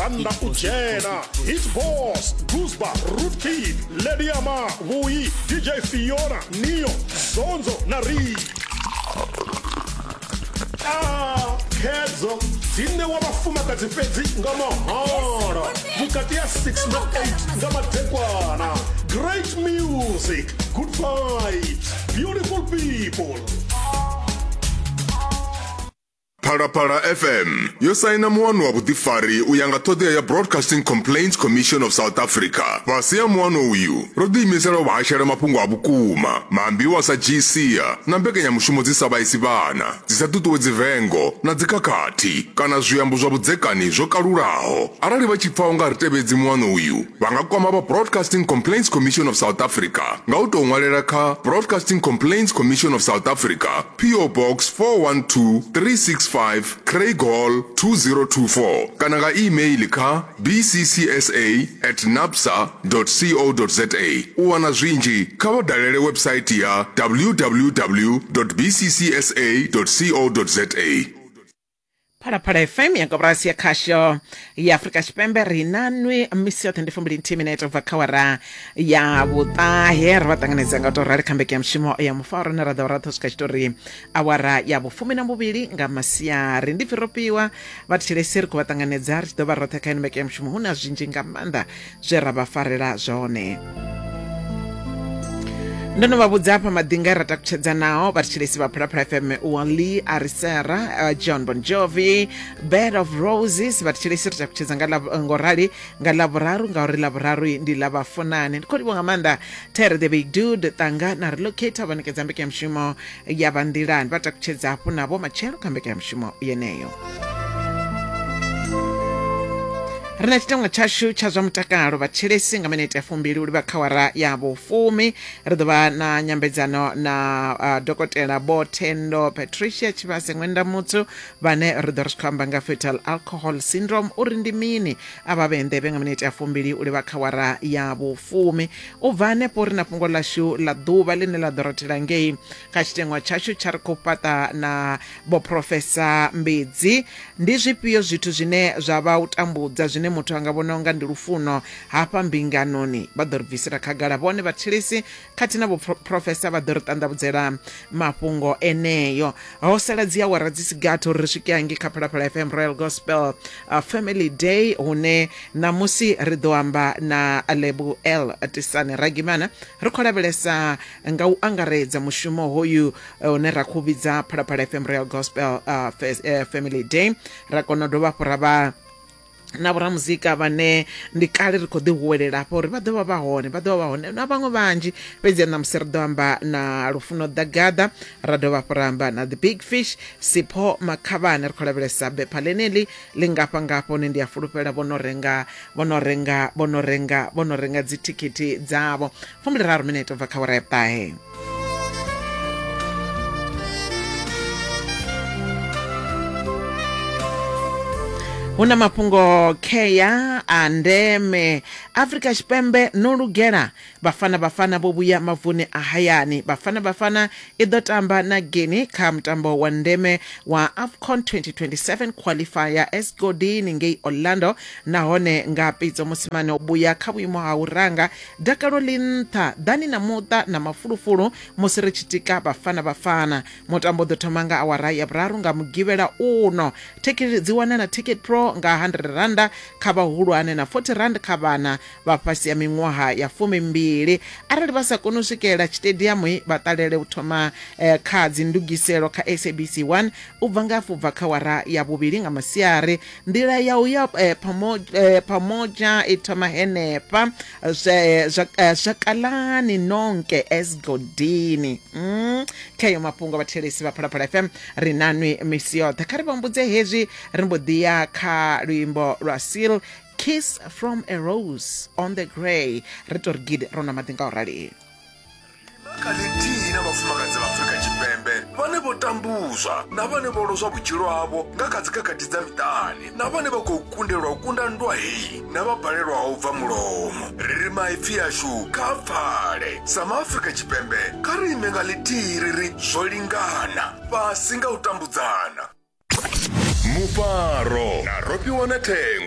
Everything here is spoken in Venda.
rannda u dzhena. Hit Boss, Guzba, Rootkid, Lady Ama, Vhuyi, DJ Fiona, Neo, Zonzo na Ri. Ah, khedzo dzi ṋewa vhafumakadzi fhedzi nga mahala vhukati ha 6 na 8 nga madekwana. Great music, good vibes, beautiful people. Phalaphala FM yo saina muano wa vhuḓifari u ya nga ṱhoḓea ya Broadcasting Complaints Commission of South Africa. Fhasi ha muano uyu, ro ḓiimisela u vha hashela mafhungo a vhukuma, maambiwa a sa dzhii sia na mbekanyamushumo dzi sa vhaisi vhana, dzi sa ṱuṱuwedzi vengo na dzikhakhathi kana zwiambo zwa vhudzekani zwo kalulaho. Arali vha tshi pfa u nga ri tevhedzi muano uyu, vha nga kwama vha Broadcasting Complaints Commission of South Africa nga u tou ṅwalela kha Broadcasting Complaints Commission of South Africa, PO Box 412365, Craighall 2024 kana nga e-mail kha bccsa at nabsa co za. U wana zwinzhi kha vha dalele website ya www bccsa co za. Phalaphala FM ya koporasi ya khasho ya Afrika Tshipembe ri na nwi misi yoṱhe ndi fumbili nthihi minete ubva kha wara ya vhuṱahe. Ri vha ṱanganedza nga u tou rali kha mbekanyamushumo ya mufaro ine ra ḓo ra ṱho swika tshitori awara ya vhufumi na vhuvhili nga masiari. Ndi pfi ro fhiwa vhathetshelesi, ri khou vha ṱanganedza ri tshi ḓo vha roṱhe kha ino mbekanyamushumo. Hu na zwinzhi nga maanḓa zwe ra vha farela zwone. Ndo no vha vhudza hafha maḓinga ra takutshedza nao vhathetshelesi vha Phalaphala FM, Wally Arisera, John Bon Jovi, Bed of Roses. Vhathetshelesi ri takutshedza nga ngorali nga ḽavhuraru, ngauri ḽavhuraru ndi ḽa vhafunani. Ndi khou livhuwa nga maanḓa Terry the Big Dude Tanga na Relocator vha ṋekedza mbekanyamushumo ya vha nḓilani. Vha takutshedza hafhu navho matshelo kha mbekanyamushumo yeneyo. Ri na tshiteṅwa tshashu tsha zwa mutakalo vhathetshelesi nga minete ya fumbili u livha kha wara ya vhufumi. Ri ḓo vha na nyambedzano na dokotela Vho Thendo Patricia Tshivhase Ṅwenda Mutsu, vhane ri ḓo ri tshi khou amba nga fetal alcohol syndrome uri ndi mini. A vha vhe nḓevhe nga minete ya fumbili u livha kha wara ya vhufumi. U bva hanefho ri na fhungo ḽashu ḽa ḓuvha ḽine ḽa ḓo rothela ngei kha tshiteṅwa tshashu tsha ri khou fhaṱa na Vho Professor Mbedzi. Ndi zwifhio zwithu zwine zwa vha u tambudza zwine muthu a nga vhona unga ndi lufuno hafha mbinganoni? Vha ḓo ri bvisela khagala vhone vhathetshelesi khathihi na Vho Professor vha ḓo ri ṱanḓavhudzela mafhungo eneyo. Ho sala dzi awara dzi si gathi uri ri swike hangei kha Phalaphala FM Royal Gospel Family Day, hune ṋamusi ri ḓo amba na Lebo L Tisani Ragimana. Ri khou lavhelesa nga u angaredza mushumo hoyu une ra khou vhidza Phalaphala FM Royal Gospel Family Day. Ra kona u dovha hafhu ra vha na vhoramuzika vhane ndi kale ri khou ḓi huwelela hafha uri vha ḓo vha vha hone, vha ḓo vha vha hone na vhaṅwe vhanzhi. Fhedzi ṋamusi ri ḓo amba na Lufuno Ḓagaḓa, ra dovha hafhu ra amba na The Big Fish Sipho Makhavhane. Ri khou lavhelesa bepha ḽeneḽi ḽi ngafha ngafha hune ndi a fulufhela vho no renga vho no renga vho no renga vho no renga dzithikhithi dzavho. 23 minete ubva kha wara ya vhuṱahe. Hu na mafhungo khea a ndeme. Afrika Tshipembe no lugela Bafana Bafana vho vhuya mavuni a hayani. Bafana Bafana i ḓo tamba na Guinea kha mutambo wa ndeme wa AFCON 2027 qualifier Esgodini ngei Orlando, nahone nga Pitso Mosimane o vhuya kha vhuimo ha u ranga. Dakalo ḽi nṱha, ḓani na muṱa na mafulufulu musi ri tshi tika Bafana Bafana. Mutambo u ḓo thoma nga awara ya vhuraru nga Mugivhela uno. Thikhithi dzi wanala Ticket Pro nga R100 kha vhahulwane na R40 kha vhana vha fhasi ha miṅwaha ya fumimbili. Arali vha sa koni u swikelela tshitediamu, vha ṱalele u thoma kha dzindugiselo kha SABC 1 u bva nga hafhu bva kha wara ya vhuvhili nga masiari. Nḓila ya u ya Pamoja i thoma henefha Zwakalani Nonke Esgodini. Khayo mafhungo vhathetshelesi vha Phalaphala FM ri na nwi misi yoṱhe. Kha ri vha humbudze hezwi ri mbo ḓi ya kha luimbo lwa Seal, Kiss from a Rose on the Grey. Ri tou ri gidi ro nwa maḓi nga u rali. Kha ḽithihi na vhafumakadzi vha Afrika Tshipembe vhane vho tambuzwa na vhane vho lozwa vhutshilo havho nga kha dzikhakhathi dza miṱani na vhane vha khou kundelwa u kunda nndwa heyi na vha balelwaho u bva mulomo. Ri ri maipfi ashu kha a pfale. Sa maAfrika Tshipembe, kha ri ime nga ḽithihi ri ri zwo lingana, fhasi nga u tambudzana. Mufaro na Rofhiwa na Thengo.